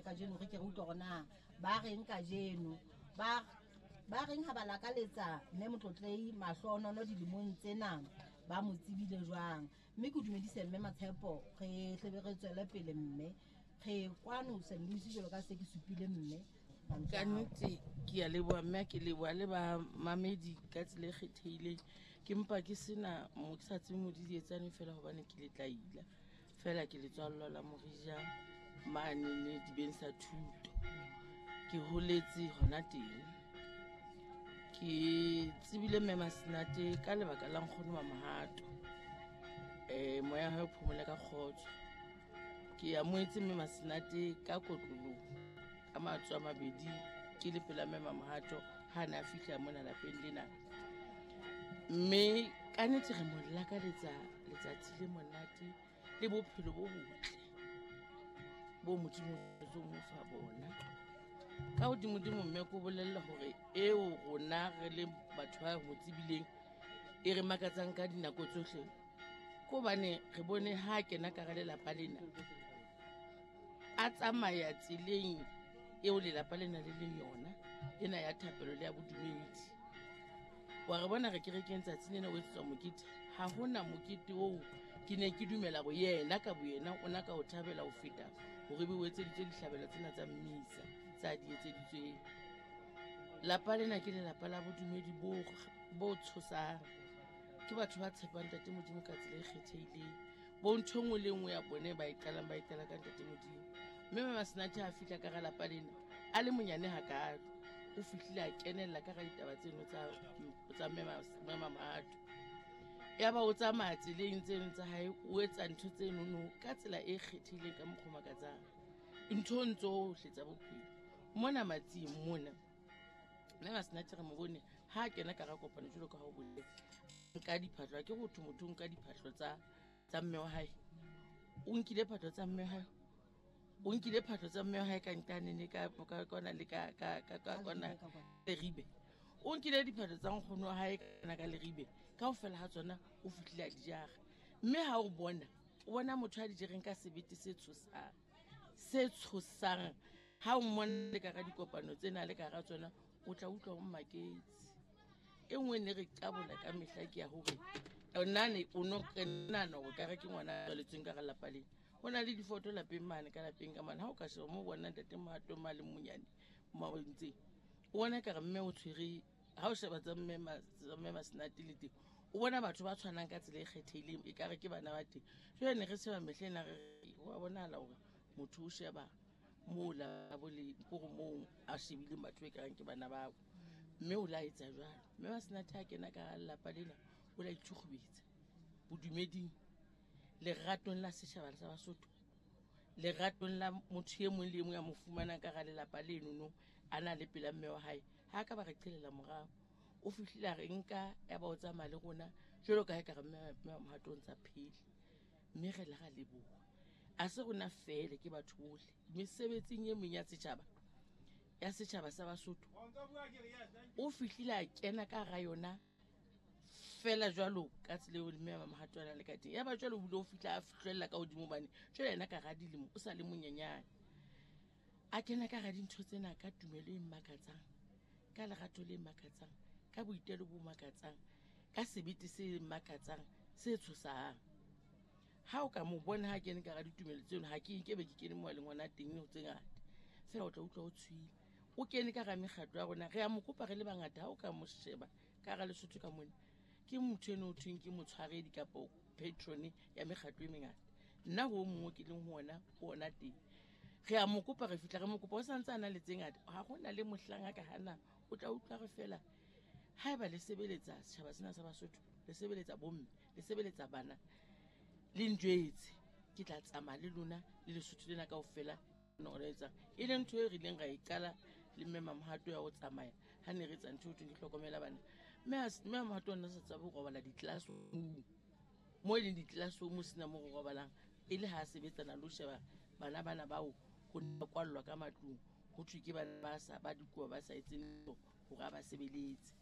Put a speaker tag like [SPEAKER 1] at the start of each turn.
[SPEAKER 1] kajeno re ke re utlwe gore na ba reng kajeno ba reng ha ba lakaletsa mme Motlotlei mahlohonono dilemong tsena ba mo tsebile jwang. Mme ke dumedise mme Matshepo, re tlebe re tswele pele mme re kwano St. Louis jwalo ka se ke supile mme.
[SPEAKER 2] Ka nnete ke a leboha mme ke leboha le ba mamedi ka tsela e kgethehileng. Ke mpa ke sena mo ke sa tsebe mo di etsane fela hobane ke letlaila fela ke letswallo la Morija mane le dibeng sa thuto. Ke holetse hona teng. Ke tsebile mme Masenate ka lebaka la nkgono wa Mohato. Moya hae o phomole ka kgotso. Ke amohetse mme Masenate ka kotloloho ka matsoho a mabedi ke le pela mme Mohato ha na fihla mona lapeng lena. Mme ka nnete re mo lakaletsa letsatsi le monate le bophelo bo botle bo Modimo o mo fa bona. Ka hodimodimo mme ko bolella hore eo rona re le batho ba mo tsebileng e re makatsang ka dinako tsohle ko hobane re bone ha kena ka hara lelapa lena a tsamaya tseleng eo lelapa lena le leng yona ena ya thapelo le ya bodumedi. Wa re bona re kerekeng tsatsi lena o etsetswa mokete, ha hona mokete oo ke ne ke dumela hore yena ka boyena o na ka o thabela ho feta hore be o etseditswe dihlabelo tsena tsa mmisa tsa di etseditsweng. Lapa lena ke lelapa la bodumedi bo tshosang. Ke batho ba tshepang Ntate Modimo ka tsela e kgethehileng. Bo ntho e nngwe le nngwe ya bone ba e qalang ba e qala ka Ntate Modimo. Mme Mama Senate ha fihla ka hara lapa lena a le monyane hakalo, o fihlile a kenella ka hara ditaba tseno tsa mme Mohato. Yaba o tsamaya tseleng tseno tsa hae, o etsa ntho tsenono ka tsela e kgethehileng ka mokgwa o makatsang. Nthong tsohle tsa bophelo. Mona Matsing mona, mme Masenate re mo bone ha a kena ka hara kopano jwalo ka ha o boletse. Nka diphahlo, ha ke re ho thwe motho o nka diphahlo tsa mme wa hae. O nkile phahlo tsa mme wa hae. O nkile phahlo tsa mme wa hae ka nqane ka, ka, kwana le ka, ka, ka, ka, kwana Leribe. O nkile diphahlo tsa nkgono wa hae kana ka Leribe. Kaofela ha tsona o fihlile a di jara. Mme ha o bona, o bona motho a di jereng ka sebete se tshosang. Se tshosang. Ha o mmona le ka hara dikopano tsena le ka hara tsona, o tla utlwa o mmaketse. E nngwe ne re qabola ka mehla ke ya hore nane o no nahana hore ka re ke ngwana a tswaletsweng ka hara lelapa lena. Ho na le difoto lapeng mane ka lapeng ka mane. Ha o ka sheba moo bona Ntate Mohato ma le monyane ma o entseng, o bona ekare mme o tshwere. Ha o sheba tsa mme tsa mme Masenate le teng, o bona batho ba tshwanang ka tsela e kgethehileng, ekare ke bana ba teng. Jwale ne re sheba mehla ena re re, ho a bonahala hore motho o sheba moo la bo le kore moo a shebileng batho e kareng ke bana bao. Mme o la etsa jwalo. Mme Masenate ha kena ka lelapa lena, o la itshukgubetsa bodumeding, leratong la setjhaba sa Basotho, leratong la motho e mong le e mong a mo fumanang ka hara lelapa leno no, a na le pela mme wa hae. Ha ka ba re qhelela morao. O fihlile a re nka, ya ba o tsamaya le rona jwalo ka ha ekare mme wa Mohato o ntsa phele. Mme re la ra leboha. A se rona fele, ke batho bohle. Mesebetsing e meng ya setjhaba, ya setjhaba sa Basotho, o fihlile a kena ka hara yona fela jwalo ka tsela eo mme wa Mohato a nang le ka teng. Ya ba jwalo o bile o fihla a fihlella ka hodimo hobane jwale yena ka hara dilemo o sa le monyenyane. A kena ka hara dintho tsena ka tumelo e makatsang, ka lerato le makatsang, ka boitelo bo makatsang, ka sebete se makatsang, se tshosang. Ha o ka mo bona ha kene ka hara ditumelo tseno, ha ke nke be ke kene moo a leng hona teng ho tse ngata. Feela o tla utlwa o tshohile. O kene ka hara mekgatlo ya rona, re a mo kopa re le bangata. Ha o ka mo sheba ka hara Lesotho ka mona, ke motho eno ho thweng ke motshwaredi kapa patron ya mekgatlo e mengata. Nna ho o mongwe ke leng ho ona, ho ona teng. Re a mo kopa, re fihla re mo kopa, o santse a na le tse ngata. Ha hona le mohlang a ka hana, o tla utlwa re fela haeba le sebeletsa setjhaba sena sa Basotho, le sebeletsa bomme, le sebeletsa bana, le njwetse, ke tla tsamaya le lona le Lesotho lena kaofela. No re etsa e leng ntho e re ileng ra e qala le mme Mamohato ya ho tsamaya ha ne re etsa ntho eo thweng ke hlokomela bana. Mme Mamohato o ne a sa tsebe ho robala di-classroom, mo e leng di-classroom ho sena mo re robalang, e le ha a sebetsana le ho sheba bana bana bao ho ne ba kwallwa ka matlung, ho thwe ke bana ba sa ba dikobo ba sa etseng letho hore a ba sebeletse.